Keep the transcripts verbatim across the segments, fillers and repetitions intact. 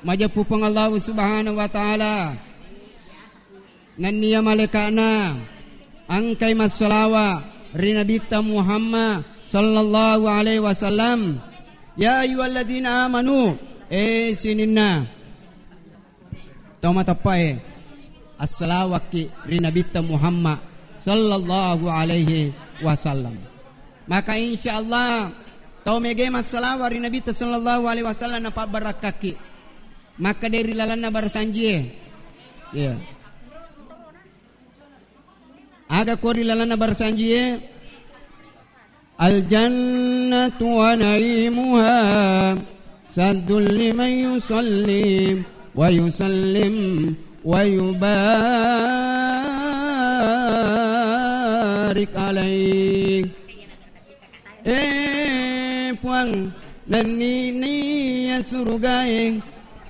Majeppu Puang Allahu Subhanahu wa Ta'ala. Nenniya malaika'na engkai massalawa ri Nabitta Muhammad sallallahu alaihi wasallam. Ya ayyuhalladzina amanu, eh sininna tau mateppae, assalawakki ri Nabitta Muhammad sallallahu alaihi wasallam. Maka insyaallah tau mege massalawa ri Nabitta sallallahu alaihi wasallam napabbarakkakki. Makkeda ri lalenna barasanjie. Iya. Aga ko ri lalenna barasanjie? Al-jannatu wa na'imuha saddul liman yusalli wa yusallim wa yubarik alaih. Eh, Puang, nenniya surugae,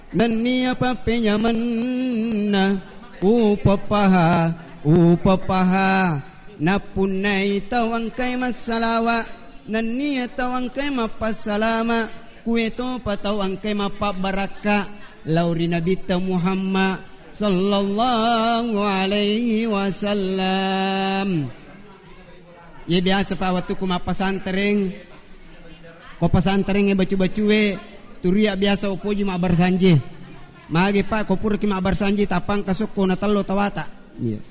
nenniya pappenyamenna, upeppaha, upeppaha. Nappunnai tau engkai massalawa, nenniya tau engkai mappassalama, kuetopa tau engkai mappabbarakka lao ri Nabitta Muhammad sallallahu alaihi wasallam. Ye biasa pa wettukku mappasantereng, ko pasanterengnge bacu-bacue, turia biasa upoji mabbarasanji. Magi pa ko puraki mabbarasanji tapangka sokko na tello tawata. Iya.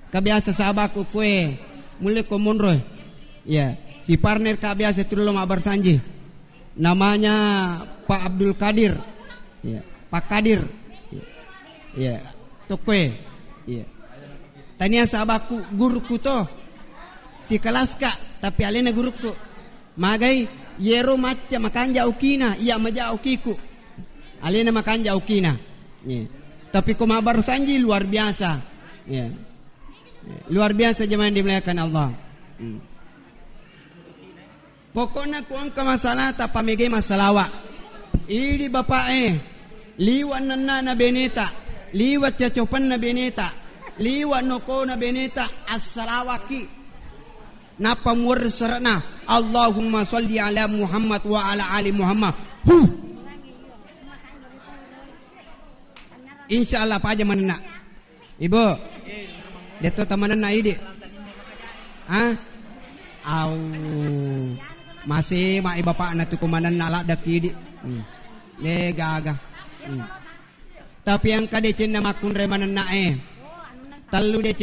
Ka biasa sahabatku kue mulle ko monro. Iya, si partner ka biasa tullo mabbarasanji. Namanya Pak Abdul Kadir. Iya, Pak Kadir. Iya. Tokkoe. Iya. Tania sahabatku, guruku to. Sikelaska, tapi alena guruku. Magai, yero macca makanja okina, iya maja okiku. Alena makanja okina. Iya. Tapi ko mabbarasanji luar biasa. Iya. Luar biasa jemaah yang dimuliakan Allah. Hmm. Pokokna ku engka masalata, pamege massalawa. Idi bapa'e, liwa nennana beneta, liwa cacopenna beneta, liwa nokona beneta, assalawaki. Nappa muwerre suara'na, Allahumma sholli ala Muhammad wa ala ali Muhammad. Huh. Insya Allah paja manenna. Ibu, detto tamanenna idi. Hah? Au. Masih mai bapakna tu kumanenna ladda kidi. Hmm. Eh, gaga. Hmm. Tapi engka decenna makkunrai manenna e. Tellu deceng